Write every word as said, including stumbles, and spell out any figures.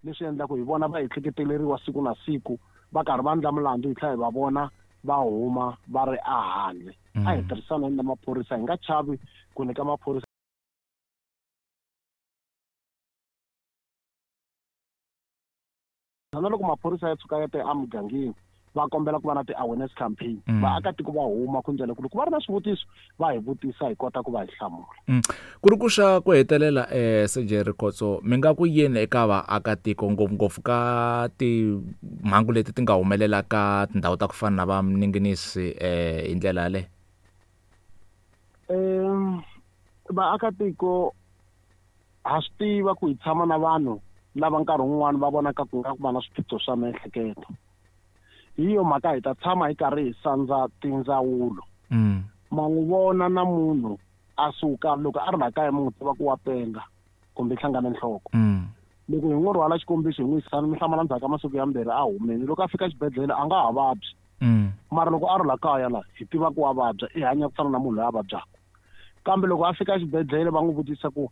Leswi endlaka hi vona va ehleketeleriwa siku na siku va karhi va endla milandzu hi tlhela hi va vona va huma va ri ehandle. A hi tirhisaneni na maphorisa, hi nga chavi ku nyika maphorisa na loko maphorisa ya tshuka ya te emugangeni va kombela ku va na ti-awareness campaign, Mm. vaakatiko va huma ku ndlela ku loko va ri na swivutiso va hi vutisa hi kota ku va hi hlamula. Mm. Ku ri ku xa ku hetelela eh Sergeant Rikhotso, mi nga ku yini eka vaakatiko ngopfungopfu ka timhangu leti ti nga humelela ka tindhawu ta ku fana na va Mninginisi eh hi ndlela yaleyo? Em, vaakatiko ha swi tiva ku hi tshama na vanhu lava nkarhi wun'wani va vonaka ku nga ku va na swiphiqo swa miehleketo. Hi yo mhaka hi ta tshama hi karhi hi sandza tindzawulo. Mm. Ma n'wi vona na munhu a suka loko a ri la kaya mi n'wi tiva ku wa penga kumbe hlangana nhloko. Mm. Loko hi n'wi rhwala xikombiso hi n'wi yisa mi hlamala ndzhaku ka masiku ya mbirhi a humile, loko a fika xibedhlele a nga ha vabyi. Mm. Mara loko a ri la kaya la hi tiva ku wa vabya, i hanya ku fana na munhu loyi a vabyaka. Kambe loko a fika xibedhlele va n'wi vutisa ku